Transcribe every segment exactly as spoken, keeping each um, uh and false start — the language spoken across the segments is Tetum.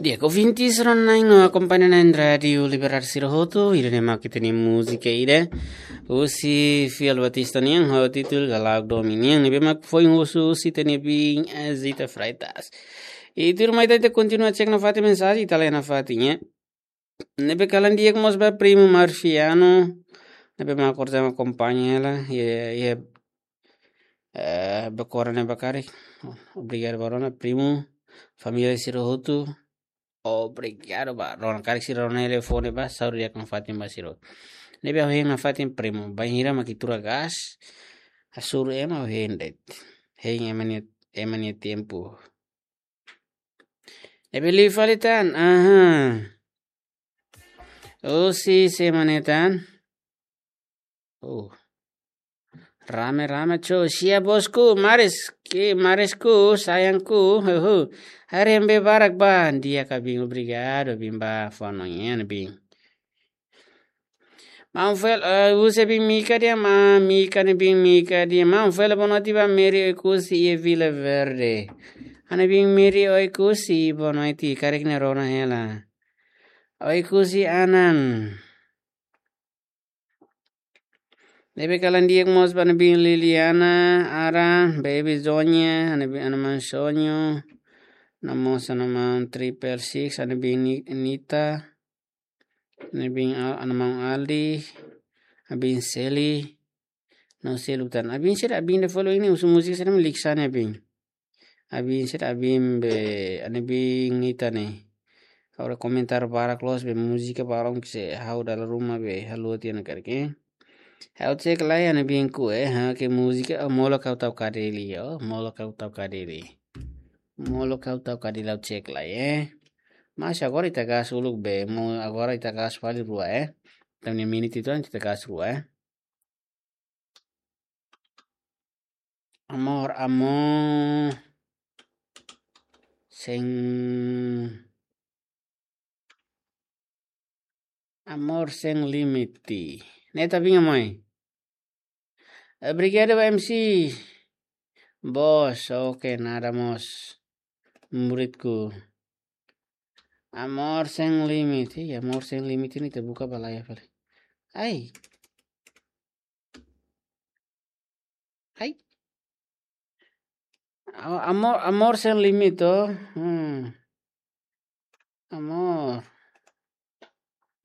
Di'ak, ouvintes rona-na'in no akompaña na'in Rádiu Libertadora sira hotu, ida-ne'e mak ita-nia múzika ida husi Fiel Batista nian, ho títulu Galauk Domin nian, ne'ebé mak foin husu husi ita-nia biin, eh, Zita Freitas. I tuirmai ita kontinua cek nafatin mensajen, ita lee nafatin, eh. Ne'ebé kalan di'ak mós ba primu Marciano, ne'ebé mak akompaña hela, iha, iha, eh, bekora ne'ebá karik. Obrigadu ba rona, primu, família sira hotu. Obrigadu ba rona, karik sira rona telefone ba, saúde di'ak nafatin ba sira. Ne'ebé ha'u hein nafatin primu, bainhira mak ita tuur gás, hasoru ema ha'u hein de'it. Hein ema nia, ema nia tempu. Ne'ebé liu fali tan, aha. Husi sé mak ne'e tan. Oh. Rame, rame, cho. Sia bosku, maris, ki, marisku, sayangku, huhu. Haree ema barak ba, di'ak ka biin, obrigadu, biin ba, fó hanoin, biin. Maun Fel, eh, husi biin Mika dehan, ma, Mika ne'e biin Mika dehan. Maun Fel, boa noite ba Mary Oekusi iha Vila Verde. Ha'u-nia biin Mary Oekusi, boa noite, karik ne'e rona hela. Oekusi Anan. Ne'ebé kalan di'ak mós ba ha'u-nia biin Liliana, Ara, Baby Zonya, ha'u-nia biin, ha'u-nia maun Sonyo, no mós ha'u-nia maun Triple Six, ha'u-nia biin Ni-, Nita, ha'u-nia biin Al-, ha'u-nia maun Aldi, ha'u-nia biin Seli, no seluk tan. Ha'u-nia biin sira, ha'u-nia biin ida follow ne'e, husu múzika sira mak Liksana ha'u-nia biin. Ha'u-nia biin sira, ha'u-nia biin be, ha'u-nia biin Nita ne'e. Agora komentáriu barak loos be múzika balun ke se ha'u dala ruma be, halo tiha ona karik. Ha'u cek lai ha'u-nia biin ku, eh, ha, ke múzika, oh, molok ha'u tau kadeli, oh, molok ha'u tau kadeli. Molok ha'u tau kadeli ha'u cek lai, eh. Mas agora ita gás uluk be, mo agora ita gás fali rua, eh. Tan ni minit itu ita gás rua, eh. Amor, amor. Sem Amor sem limite. Ne'e ita biin Amoy. Obrigadu ba M C. Bos, oke, nada mós. Muridku. Amor sem limite. Ih, amor sem limite ne'e ita buka ba laiha fali. Ai. Ai. A-, amor, amor sem limite, oh. Hmm. Amor.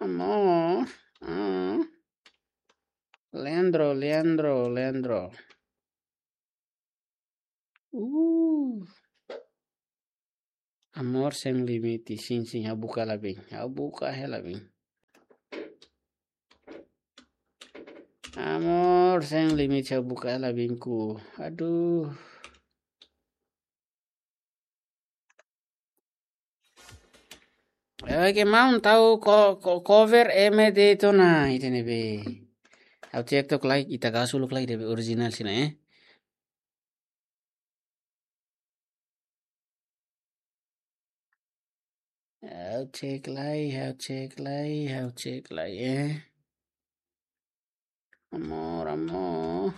Amor. Ah. Leandro, Leandro, Leandro. Uh. Amor sem limite, sin, sin, ha'u buka hela biin. Ha'u buka hela biin. Amor sem limite, ha'u buka hela biinku. Aduh. Oke, maun tau ko-, ko-, cover M D tona, ida-ne'e be. Ha'u cek took lai, ita gás uluk lai, ida be original sira ne'e, eh. Ha'u cek lai, ha'u cek lai, ha'u cek lai, eh. Amor, amor.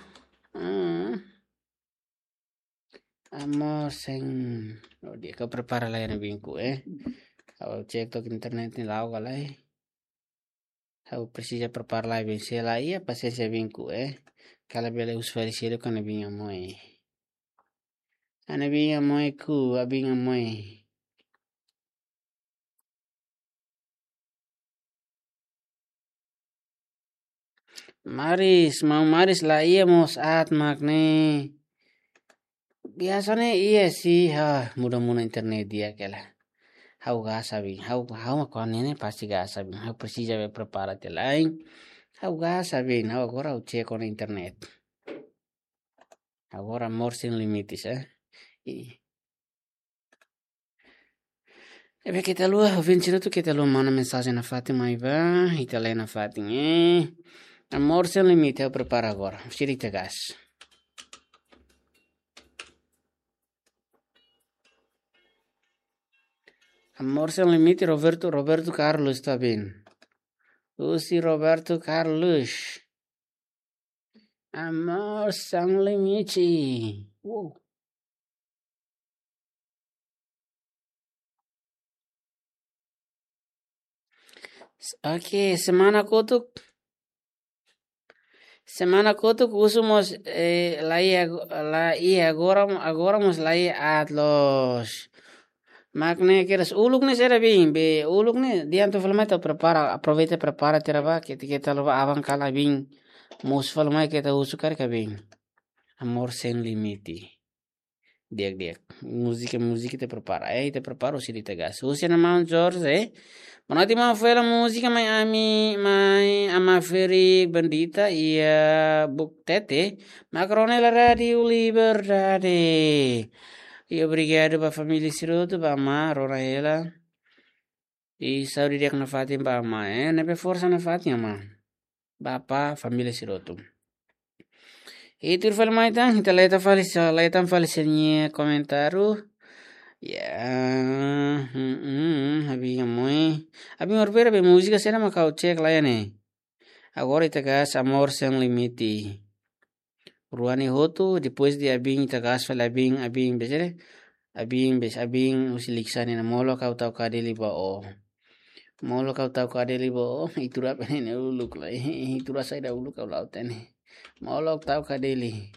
Ah. Amor sem. Oh, di'ak, ha'u prepara lai ha'u-nia biinku, eh. Ha'u cek took internet ne'e la'o ka lae. Ha'u presiza prepara lai biin, se laiha pasiénsia biinku, eh. Kala bele husu fali seluk ha'u-nia biin Amoy. Ha'u-nia biin Amoy ku, ha'u-nia biin Amoy. Maris, maun Maris laiha mós aat mak ne'e. Biasa ne'e iha sih, ha, mudah-mudahan internet di'ak hela. Ha'u gás biin, ha'u, ha'u mak kuandu ne'e pasti gás biin. Ha'u presiza be prepara tiha lai. Ha'u gás biin, ha'u agora ha'u cek ona internet. Agora Amor Sem Limites, eh. I ne'ebé keta haluha, ouvinte sira hotu keta haluha manda mensajen nafatin mai ba, ita lee nafatin, eh. Amor Sem Limite, ha'u prepara agora. Sira ita gás. Amor Sem Limite, Roberto, Roberto Carlos, tá bem? Husi Roberto Carlos. Amor sem limite. Uou. Oke, semana kotuk. Semana kotuk husu mós, eh, la iha ago-, la iha agora, agora mós la iha aat loos. Mak ne'e kedas uluk ne'e sira bin, be uluk ne'e diantu fali mai ita prepara, aproveita prepara tiha ba, keta, keta la'o ba aban kala bin. Mosu fali mai keta husu karik bin. Amor sem limite. Di'ak, di'ak. Múzika, múzika ita prepara. Eh, ita prepara, husi ita gas. Husi Ana Maun Jorge, eh. Boa noite, maun Fela, múzika mai ami, mai Ama Ferik Bendita, iha Buktete. Mak rona hela Rádiu Liberdade. I obrigadu ba família sira hotu, ba amá, rona hela. I saúde di'ak nafatin ba amá, eh. Ne'ebé forsa nafatin amá. Ba apá, família sira hotu. I tuir fali mai tan, ita leta fali sa, leta fali sira-nia komentáriu. Ya, hmm, hmm, abin amoi. Abin orbera be múzika sira mak ha'u cek la iha ne'e. Agora ita gas Amor Sem Limite. Rua ne'e hotu, depois de abin ita gas fali abin, abin be sira. Abin be, abin husi Likisá nian, molok ha'u tau kadeli ba ó. Molok ha'u tau kadeli ba ó, itu rap ne'e uluk lai. Itu rap saida uluk ha'u la hatene. Molok tau kadeli.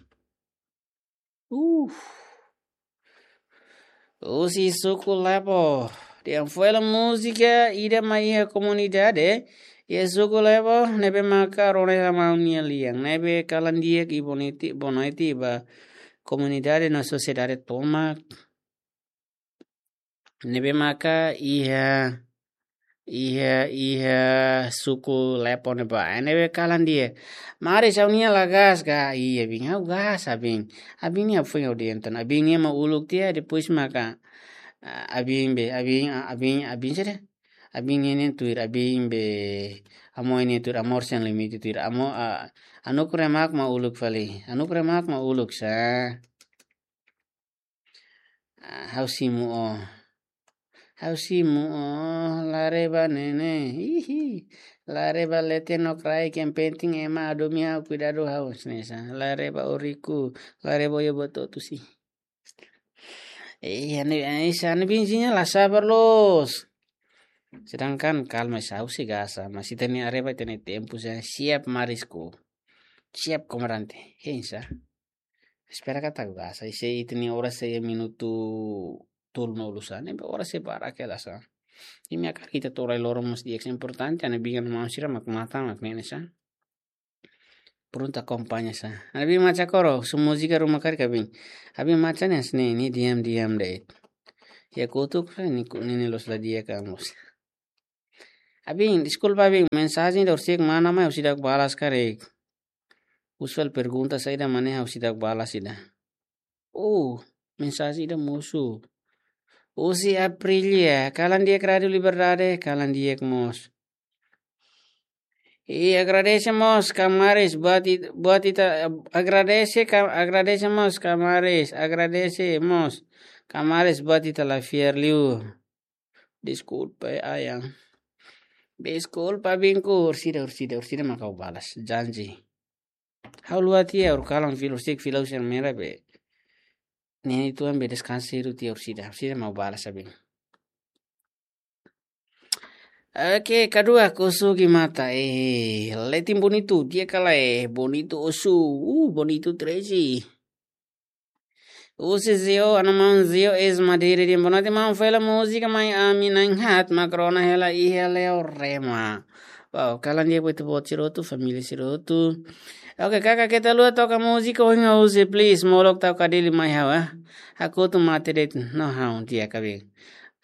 Uh. Husi suku Lepo. Dehan foin hela múzika ida mai iha komunidade. Iha suku Lepo, ne'ebé maka rona hela maun nia lian. Ne'ebé kalan di'ak i boniti, bonoiti ba komunidade no sosiedade tomak. Ne'ebé maka iha, iha, iha suku Lepo ne'ebá. Ne'ebé kalan di'ak. Maris, ha'u-nia la gas ka? Iha, abin, ha'u gas, abin. Abin nia foin ha'u dehan tan. Abin nia mak uluk tiha, depois maka, ah, abin be, abin, ah, abin, abin saida? Abin nia ne'e tuir, abin be, amoi nia tuir, Amor Sem Limite tuir, amo, ah, Anuk Remak mak uluk fali. Anuk Remak mak uluk sa. Ah, ha'u simu ó. Ha'u simu ó, la reba ne'e ne'e. Ihi. La reba leten no kraik, yang penting ema hadomi ha'u, kuidadu ha'u, hanesan ne'e sa. La reba ó riku, la reba ó iha buat hotu sih. Eh, ane, eh, sa ane binzinya la sabar loos. Sedangkan kalma sa, ha'u sei gas sa, mas ita-nia areba, ita-nia tempu sa, siap Marisku. Siap komandante. Hein sa. Espera katak gas sa, i se ita-nia oras sei minutu tolunulu sa, ne'ebé oras sei barak hela sa. Imi hakarak ita to'o rai loron mós di'ak sa, importante, ane bigan maun sira mak matan, mak ne'e sa. Prontu akompaña sa. Abin Macha Koro, su múzika ruma karik abin. Abin Macha ne'e hanesan ne'e, nia diam-diam de'it. Iha kotuk, eh, nia ku-, nia, nia loos la di'ak ka mós. Abin, deskulpa abin, mensajen ida husi mana mai ha'u seidauk balas karik. Husu fali pergunta saida mak ne'e ha'u seidauk balas ida. Oh, mensajen ida mosu. Husi Aprilia, kalan di'ak Rádiu Liberdade, kalan di'ak mós. I agradese mós Kamaris buat it-, buat ita, agradese ka, agradese mós Kamaris, agradese mós Kamaris buat ita la fiar liu. Deskulpa, eh, ayang. Deskulpa, abinku, orsida, orsida, orsida mak ha'u balas, janji. Ha'u luat tiha, orsida kalan fila, orsida fila husi mera be. Ne'e tuan be deskansa hiru tiha orsida, orsida mak ha'u balas abin. Oke, kedua, Kosugi Mata. Eh, leten bonitu, di'ak ka lae, bonitu osu, uh, bonitu treze. Husi Zio, Ana Maun Zio, eis Madeira, dehan boa noite, maun Fela, múzika mai ami na'in-haat, mak rona hela iha Leorema. Wow, kalan di'ak ba ita-boot sira hotu, família sira hotu. Oke, kaka keta haluha toka múzika, ohin ha'u husi, please, molok tau kadeli mai ha'u, ah. Hakotu mate de'it, no ha'u, di'ak abin.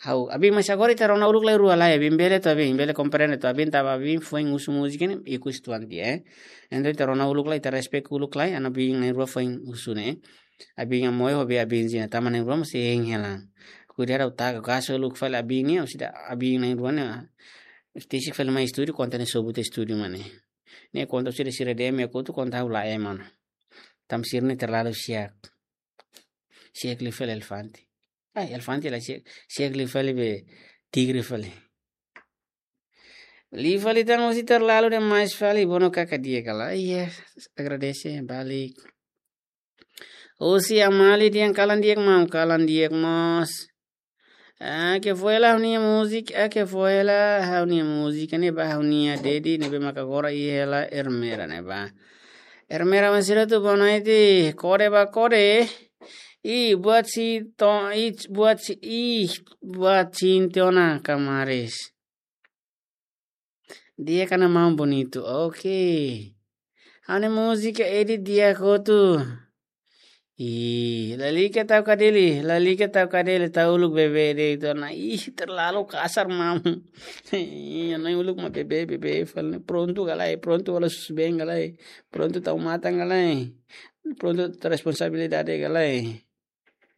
Ha'u, abin, mas agora ita rona uluk lai rua lai, abin bele to'o abin, bele komprende to'o abin, tanba abin foin husu múzika ne'e, ikus tuan tiha, eh. Entaun ita rona uluk lai, ita respect uluk lai, anu abin na'in-rua foin husu ne'e. Abin amoi ho be abin zina, tanba na'in-rua mós hein hela. Kuidadu ha'u taka, kaso uluk fali abin ne'e, orsida abin na'in-rua ne'e. Tesik fali mai estúdiu, konta ne'e sobu tiha estúdiu mak ne'e. Ne'e konta sira sira dehan, ema kotuk konta ha'u la ema ona. Tanba sira ne'e terlalu siak. Siak liu fali elefante. Ai, elefante la siak, siak liu fali be tigre fali. Liu fali tan husi terlalu demais fali, bono kaka di'ak ka lae. Iya, agradese, balik. Husi Amali dehan kalan di'ak maun, kalan di'ak mós. Ah, ke foi la ha'u-nia múzika, ah, ke foi la ha'u-nia múzika ne'ebá, ha'u-nia dedi ne'ebé maka agora iha hela Ermera ne'ebá. Ermera, mas sira tu boa noite, kore ba kore. I buat si to, i buat si, i buat si tiona kamaris. Dia kana mau bonitu. Oke. Ha'u-nia múzika edit di'ak hotu. Ih, lalika tau kadeli, lalika tau kadeli, tau uluk bebé de'it ona. Ih, terlalu kasar, maun. Ih, ha'u-nia uluk mak bebé, bebé fali. Prontu ka lae, prontu halo susubeen ka lae. Prontu tau matan ka lae. Prontu tau responsabilidade ka lae.